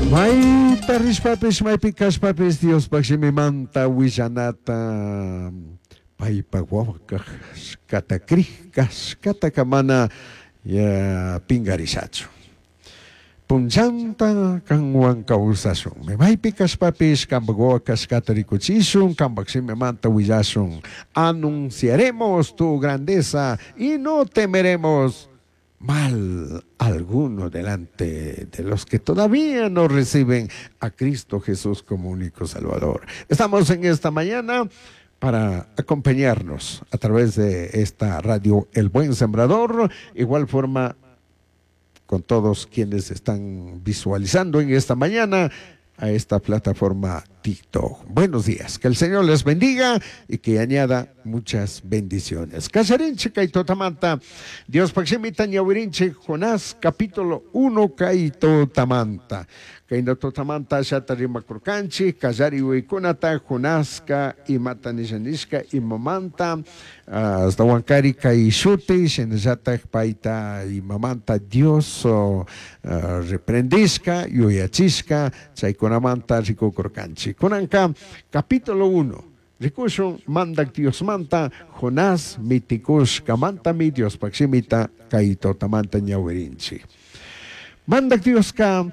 Maita rishpapish, maipi cashpapish Diospaj shimimanta huillanata paipaj huahua cashcata crij cashcataca mana pingarishachu. Punllanta canhuan causashunmi. Maipi cashpapish cambaj huahua cashcata ricuchishun, cambaj shimimanta huillashun. Anunciaremos tu grandeza y no temeremos mal alguno delante de los que todavía no reciben a Cristo Jesús como único Salvador. Estamos en esta mañana para acompañarnos a través de esta radio El Buen Sembrador, igual forma con todos quienes están visualizando en esta mañana a esta plataforma TikTok. Buenos días, que el Señor les bendiga y que añada muchas bendiciones. Callarinche kay tutamanta, Diospaj shimita ñawirinche, Jonás capítulo 1 kay tutamanta. Kayna tutamanta ashata rimakurkanchik, kallari uyaykunata Jonaska imata nisha nishka imamanta, ashtahuankari kay shuti, shinallatak payta imamanta Dios reprendishka, yuyachishka, chaykunamanta rikukurkanchik. Kunanka capítulo 1, rikushun mandak Diosmanta Jonás mitikushkamantami Diospaj shimita kay tutamanta ñawirinchik. Mandak Dioska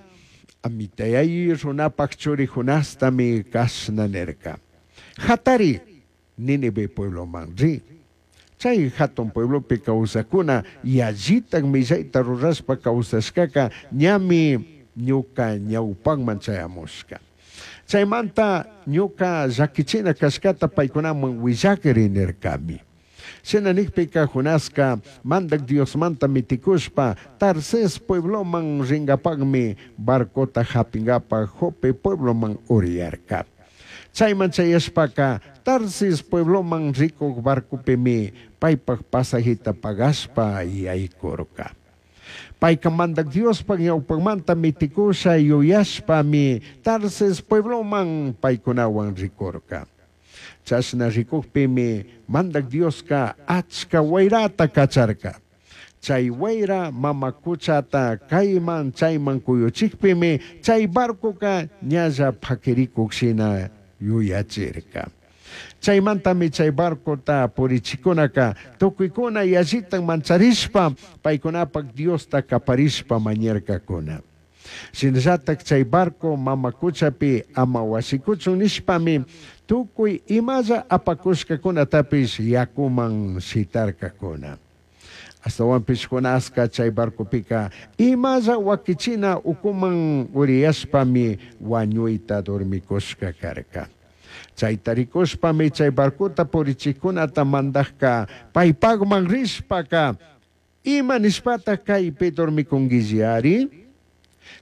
Amitayay runapak churi Jonastami kashna nirka. Jatari, Nínive puebloman ri. Chay jatun pueblopi kawsakuna yallitak millayta rurashpa kawsashkaka ñami ñuka ñawpakman chayamushka. Chaymanta ñuka llakichina kashkata paykunaman willakri nirkami. Shina nijpika Jonaska Mandak Diosmanta mitikushpa Tarsis puebloman ringapakmi barcota japingapak Jope puebloman uriyarka. Chayman chayashpaka Tarsis puebloman rikuk barcopimi paypak pasajita pagashpa yaykurka. Payka Mandak Diospak ñawpakmanta mitikusha yuyashpami Tarsis puebloman paykunawan rikurka. Chashna rikukpimi Mandak Dioska achka wayrata kacharka. Chay wayra mama kuchata kayman chayman kuyuchikpimi chay barcoka ñalla pakirikuk shina yuyachirka. Chaymantami chay barcota purichikunaka tukuykuna yallitan mancharishpa paykunapak Diosta kaparishpa mañarkakuna. Shinallatak chay barco mama kuchapi ama wasikuchun nishpami tukuy imalla apakushkakunatapish yakuman shitarkakuna. Ashtawanpish Jonaska chay barcopika imalla wakichina ukuman uriyashpami wañuyta dormikushka karka. Chayta rikushpami chay barcota purichikkunata mandajka paypakman rishpaka ima nishpata kaypi dormikunguillari?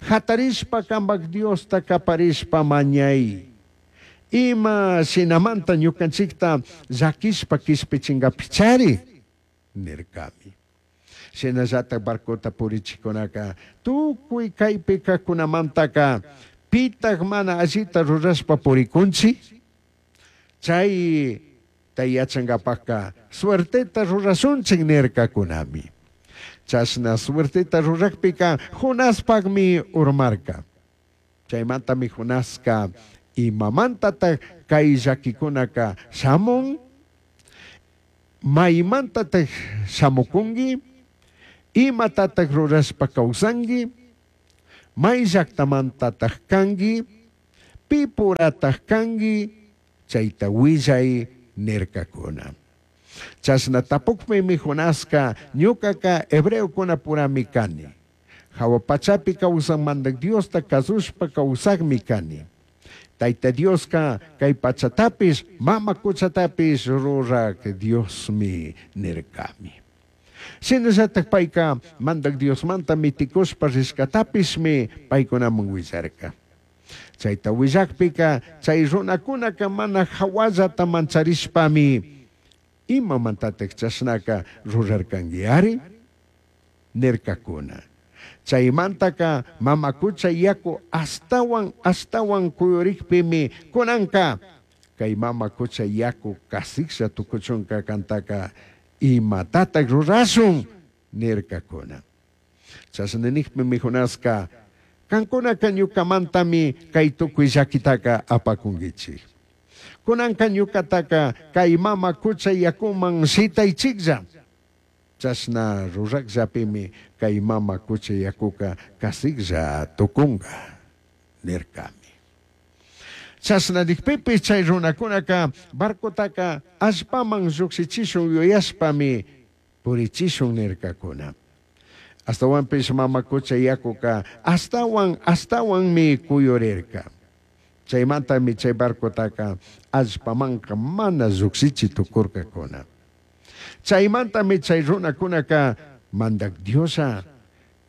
Jatarishpa kambak Diosta kaparishpa mañay. Ima shinamanta ñukanchikta llakishpa kishpichingapichari nirkami. Shinallatak barcota purichikunaka tukuy kaypi kajkunamantaka pitak mana allita rurashpa purikunchik? Chay yachangapakka suerteta rurashunchik nirkakunami. Chashna suerteta rurakpika Jonaspakmi urmarka. Chaymantami Jonaska imamantatak kay llakikunaka shamun? Maymantatak shamukunki? Imatatak rurashpa kawsanki? May llaktamantatak kanki? Pipuratak kanki? Chayta willay nirkakuna. Chashna tapukpimi Jonaska ñukaka hebreokunapurami kani. Hawa pachapi kawsan mandak Diosta kasushpa kawsakmi kani. Tayta Dioska kay pachatapish mama kuchatapish rurak Diosmi nirkami. Shinallatak payka mandak Diosmanta mitikushpa rishkatapishmi paykunaman willarka. Chayta willakpika chay runakunaka mana hawallata mancharishpami imamantatak chashnaka rurarkankiari nirkakuna. Chaymantaka mama kucha yaku ashtawan ashtawan kuyurikpimi kunanka kay mama kucha yaku kasiklla tukuchunka kantaka imatatak rurashun nirkakuna. Chashna nikpimi Jonaska Cancunaca ñucamantami cai tucui llaquitaca apacunguichij. Cunanca ñucataca cai mama cucha yacuman shitaichijlla. Chashna rurajllapimi cai mama cucha yacuca casijlla tucunga, nircami. Chashna nijpipish chai runacunaca barcotaca allpaman llujshichishun yuyashpami purichishun nircacuna. Ashtahuanpish mama cucha yacuca ashtahuan ashtahuanmi cuyurirca. Chaimantami chai barcotaca allpamanca mana llujshichi tucurcacuna. Chaimantami chai runacunaca Mandaj Dioslla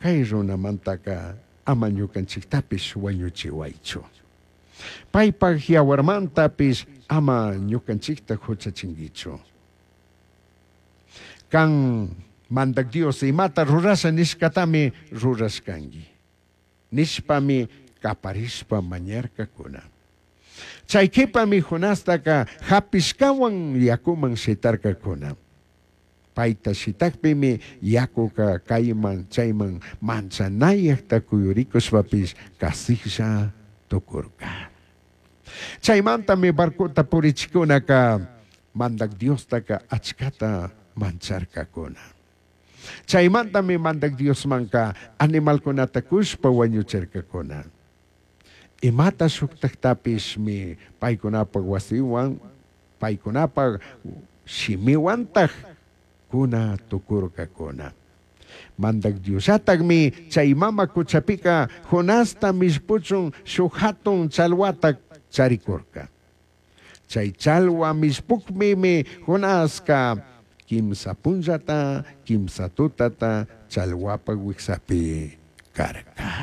cai runamantaca ama ñucanchijtapish huañuchihuaichu. Paipaj yahuarmantapish ama ñucanchijta juchachinguichu. Can Mandaj Dios imata rurasha nishcatami rurashcangui. Nishpami caparishpa mañarcacuna. Chai q'uipami Jonastaca japishcahuan yacuman shitarcacuna. Paita shitajpimi yacuca caiman chaiman manchanayajta cuyuricushpapish casijlla tucurca. Chaimantami barcota purichijcunaca Mandaj Diostaca achcata mancharcacuna. Chaimantami Mandaj Diosmanca animalcunata cushpa huañuchircacuna. Imata shujtajtapishmi paicunapaj huasihuan, paicunapaj shimihuantaj cuna tucurcacuna. Mandaj Diosllatajmi chai mama cuchapica Jonasta millpuchun shuj jatun chalhuata charicurca. Chai chalhua millpujpimi Jonasca quimsa punllata, quimsa tutata chalhuapaj huijsapi carca.